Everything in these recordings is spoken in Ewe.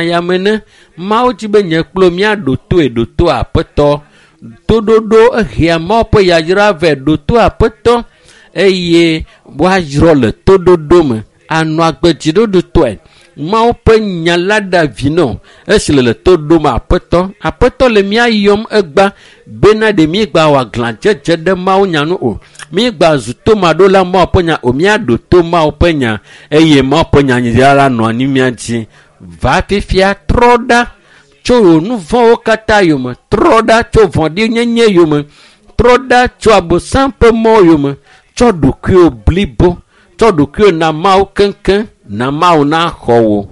ya me ne Mawu dzi be nye kplo míaɖo toe ɖo to aƒetɔ. Toɖoɖo ehea Mawu ƒe yayra vɛ ɖo to aƒetɔ eye woayrɔ le toɖoɖo me anɔ agbe dziɖoɖotɔe. Mawu ƒe nya la ɖe vi nɔ esi le le to ɖom aƒetɔ. Aƒetɔ le mía yɔm egba bena ɖe mígba wɔ aglãdzedze ɖe Mawu nya nu o. Mígba zu tomaɖola Mawu ƒe nya o. Míaɖo to Mawu ƒe nya eye Mawu ƒe nya la nɔ anyi mía dzi. Va fifia trɔ ɖa tso wò nu vɔ̃wo katã yome. Trɔ ɖa tso vɔ̃ɖinyenye yome. Trɔ ɖa tso abosam ƒe mɔ yome. Tsɔ ɖokuiwò blibo. Tsɔ ɖokuiwò na Mawu keŋkeŋ na Mawu naxɔ wò.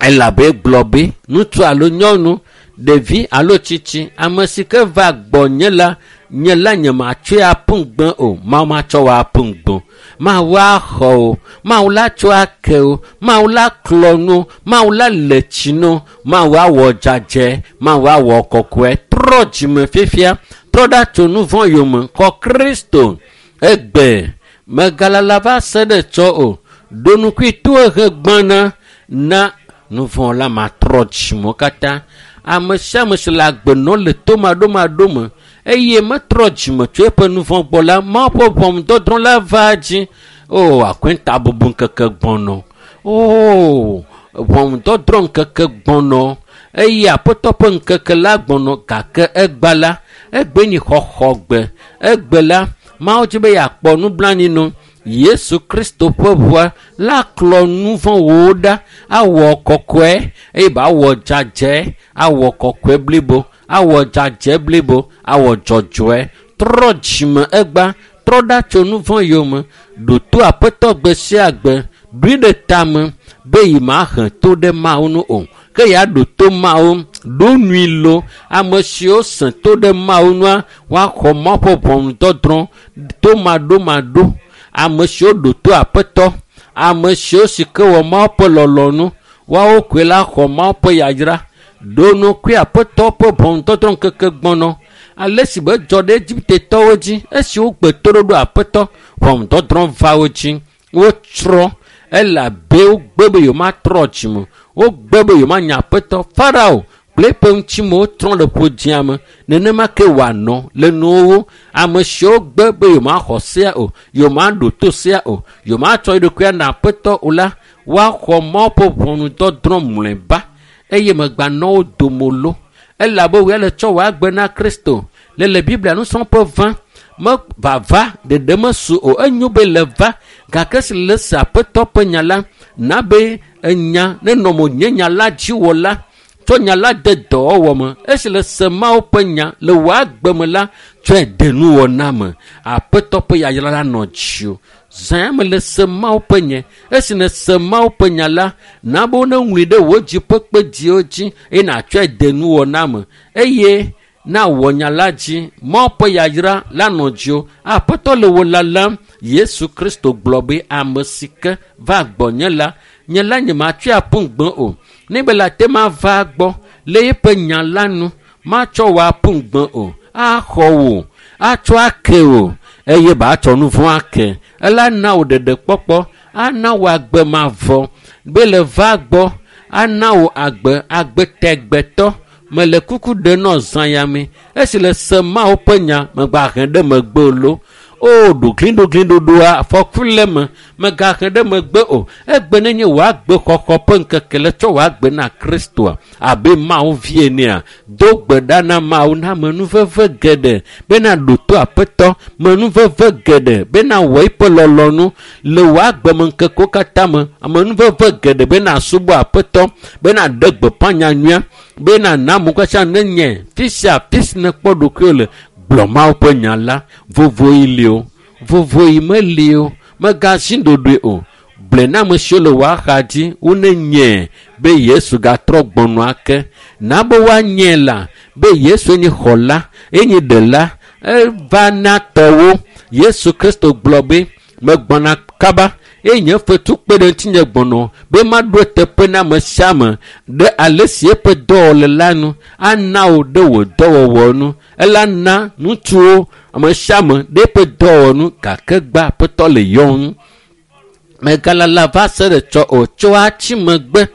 Elabe gblɔ be ŋutsu alo nyɔnu, ɖevi alo tsitsi, ame si ke va gbɔnye la, nye la nye matsɔe aƒu gbe o. Mawu matsɔ wò aƒu gbe o. Mawu axɔ wò. Mawu la tsɔ ake wò. Mawu la klɔ nu. Mawu la le tsi nu. Mawu awɔ dzadzɛ. Mawu awɔ kɔkɔe. Trɔ dzime fifia. Trɔ ɖa tso nu vɔ̃ yome. Xɔ Kristo. Egbe megalala va se ɖe tsɔ o. Ɖo nukui to ehe gbãna na nu vɔ̃ la matrɔ dzimewo katã. Ame sia ame si le agbe nɔm le tomaɖomaɖo me eye metrɔ dzime tso eƒe nu vɔ̃ gbɔ la, Mawu ƒe ʋɔnudɔdrɔ̃ la va dzi. O, akɔntabubu ŋkeke gbɔnɔ. O, ʋɔnudɔdrɔ̃ ŋkeke gbɔnɔ eye aƒetɔ ƒe ŋkeke la gbɔnɔ gake egba la, egbe nyi xɔxɔgbe. Egbe la, Mawu dzi be yeakpɔ nublanui no. Yesu Kristo ƒe ʋua la klɔ nu vɔ̃wo ɖa, awɔ kɔkɔe eye ba awɔ dzadzɛ, awɔ kɔkɔe blibo, awɔ dzadzɛ blibo, awɔ dzɔdzɔe. Trɔ dzime egba, trɔ ɖa tso nu vɔ̃ yome, ɖo to aƒetɔ gbe sia gbe, ɖoe ɖe tame be yi mahe to ɖe Mawu nu o. Ke yeaɖo to Mawu, ɖo nui lo. Ame siwo sẽ to ɖe Mawu nua, woaxɔ Mawu ƒe ʋɔnudɔdrɔ̃ tomaɖomaɖo. Ame siwo ɖo to aƒetɔ, ame siwo si ke wɔ Mawu ƒe lɔlɔ̃nu, woawo koe la xɔ Mawu ƒe yayra. Ɖo nukui aƒetɔ ƒe ʋɔnudɔdrɔ̃ ŋkeke gbɔnɔ. Ale si be dzɔ ɖe Egiptetɔwo dzi esi wogbe toɖoɖo aƒetɔ, ʋɔnudɔdrɔ̃ va wo dzi. Wotsrɔ̃ elabe wogbe be yewomatrɔ dzime. Wogbe be yewomanya aƒetɔ. Farao kple eƒe ŋutimewo trɔ le ƒodzia me. Nenema ke wòanɔ le nuwo. Ame siwo gbe be yewomaxɔ sea o, yewomaɖo to sea o, yewomatsɔ yewoɖokui ana aƒetɔ o la, woaxɔ Mawu ƒe ʋɔnudɔdrɔ̃ mlɔeba eye megbanɔ wo dome lo. Elabe wòe le tsɔ wò agbe na Kristo. Le le Biblia nusrɔ̃ƒe va, me vava ɖeɖe mesu o. Enyo be le va gake si le se aƒetɔ ƒe nya la, na be enya nenɔ mo nye nya la dzi wɔ la, tsɔ nya la de dɔwɔwɔ me. Esi le se Mawu ƒe nya le wò agbe me la, tsɔe de nuwɔna me. Aƒetɔ ƒe yayra la nɔ dziwò. Zã me le se Mawu ƒe nya. Esi nèse Mawu ƒe nya la, na be woneŋlɔe ɖe wò dzi ƒe kpedziwo dzi eye nàtsɔe de nuwɔna me. Eye na wɔ nya la dzi. Mawu ƒe yayra la nɔ dziwò. Aƒetɔ le wò lalam. Yesu Kristo gblɔ be ame si ke va gbɔnye la, nye la nye matsɔe aƒu gbe o. Ne be le ate ma va gbɔ le eƒe nya la nu, matsɔ wò aƒu gbe o. Axɔ wò, atsɔ ake wò eye ba atsɔ nu vɔ̃ ake. Ela na wò ɖeɖekpɔkpɔ, ana wò agbe mavɔ be le va gbɔ, ana wò agbe, agbe tɛgbɛtɔ. Mele kuku ɖe nɔ zã ya me. Esi le se Mawu ƒe nya megba he ɖe megbe o lo. O, ɖogliɖogliɖoɖoa, afɔku le eme, megahe ɖe megbe o. Egbe nenye wò agbe xɔxɔ ƒe ŋkeke le tsɔ wò agbe na Kristoa abe Mawu vi enea, do gbe ɖa na Mawu na amenuveve geɖe bena ɖo to aƒetɔ, menuveve geɖe bena wɔ eƒe lɔlɔ̃nu le wò agbemeŋkekewo katã me, amenuveve geɖe bena subɔ aƒetɔ, bena ɖe gbeƒã nyanyuia, bena na amewo katã nenye fi sia fi si nèkpɔ ɖokuiwò le, gblɔ Mawu ƒe nya la. Vovoɣi li o, vovoɣi meli o, megazi ɖoɖoe o. Gblɔe na ame siwo le wò axa dzi wonenyae be Yesu gatrɔ gbɔnɔ ake. Na be woanyae la be Yesu nye xɔla, enye ɖela, eva na tɔwo. Yesu Kristo gblɔ be megbɔna kaba eye nye fetu kpe ɖe ŋutinye gbɔnɔ be maɖo eteƒe na ame sia ame ɖe ale si eƒe dɔwɔle la nu ana wò ɖe wò dɔwɔwɔ nu. Ela na ŋutsuwo ame sia ame ɖe eƒe dɔwɔwɔ nu gake gba aƒetɔ le yɔm. Megalala va se ɖe tsɔ o. Tso atsi megbe,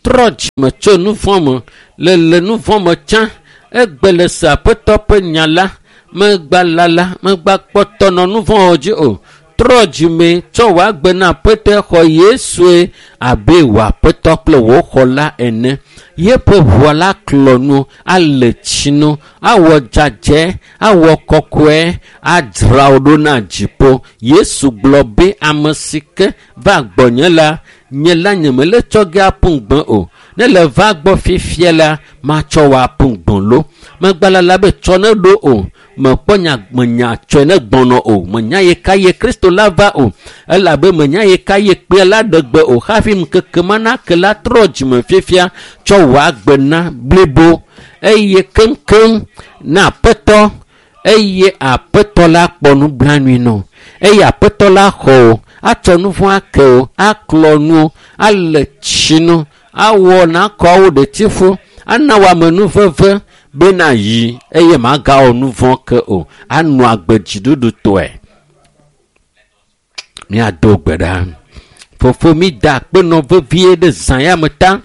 Trɔ dzime tso nu vɔ̃ me. Le le nu vɔ̃ me tsã. Egbe le se Aƒetɔ ƒe nya la. Megba lala, megba kpɔtɔ nɔ nu vɔ̃ dzi o. Trɔ dzime tsɔ wò agbe na Aƒetɔe xɔ Yesue abe wò Aƒetɔ kple wò xɔla ene. Yeƒe ʋua la klɔ nu, ale tsi nu, awɔ dzadzɛ, awɔ kɔkɔe, adzra wò ɖo na dziƒo. Yesu gblɔ be ame si ke va gbɔnye la, nye la nyemele tsɔ ge aƒu gbe o. Ne le va gbɔ fifia la, matsɔ wò aƒu gbe lo. Megbalala be tsɔ ne ɖo o. Mekpɔ nya menya tsɔe ne gbɔnɔ o. Menya ye ka ye Kristo la va o. Elabe menya ye ka ye kpea la ɖe gbe o. Hafi ŋkeke ma nake la trɔ dzime fifia tsɔ wò agbe na blibo eye keŋkeŋ na Aƒetɔ eye Aƒetɔ la kpɔ nublanui nɔ. Eye Aƒetɔ la xɔ o, atsɔ nu vɔ̃ ake o, aklɔ nu, ale tsi nu, awɔ nakɔ wo ɖetifu, ana wò amenuveve bena yi eye magawɔ nu vɔ̃ ke o, anɔ agbe dziɖuɖutɔe. Míado gbe ɖa. Fofo, mi da akpenɔ vevie ɖe zã ya me ta.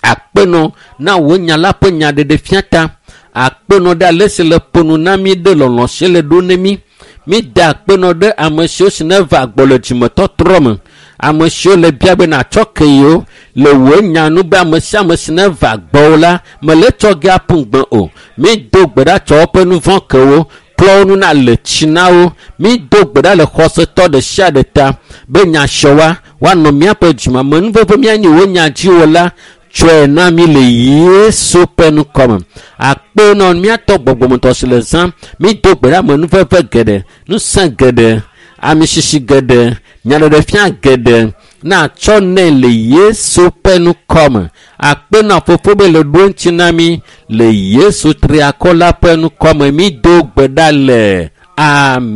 Akpenɔ na wò nya la ƒe nyaɖeɖefia ta. Akpenɔ ɖe ale si le ƒo nu na mí ɖe lɔlɔ̃ si le ɖo ne mí. Mi da akpenɔ ɖe ame siwo si neva gbɔ le dzimetɔtrɔ me. Ame siwo le bia be natsɔ ke yewo le wò nya nu be ame sia ame si neva gbɔwò la mele tsɔ ge aƒu gbe o. Mi do gbe ɖa tsɔ woƒe nu vɔ̃ ke wo, klɔ wo nu na le tsi na wo. Mi do gbe ɖa le xɔsetɔ ɖe sia ɖe ta be nya siawoa woanɔ míaƒe dzime. Amenuveve míanyi wò nya dziwò la tsɔe na mí le Yesu ƒe ŋkɔme. Akpe nɔ míatɔ gbɔgbɔmetɔ si le zã. Mi do gbe ɖa amenuveve geɖe, ŋusẽ geɖe, amisisi geɖe, nyaɖeɖefia geɖe natsɔ nɛ le Yesu ƒe ŋkɔme. Akpe nɔ fofo be le ɖo ŋuti na mí le Yesu triakɔ la ƒe ŋkɔme. Mi do gbe ɖa le. Amen.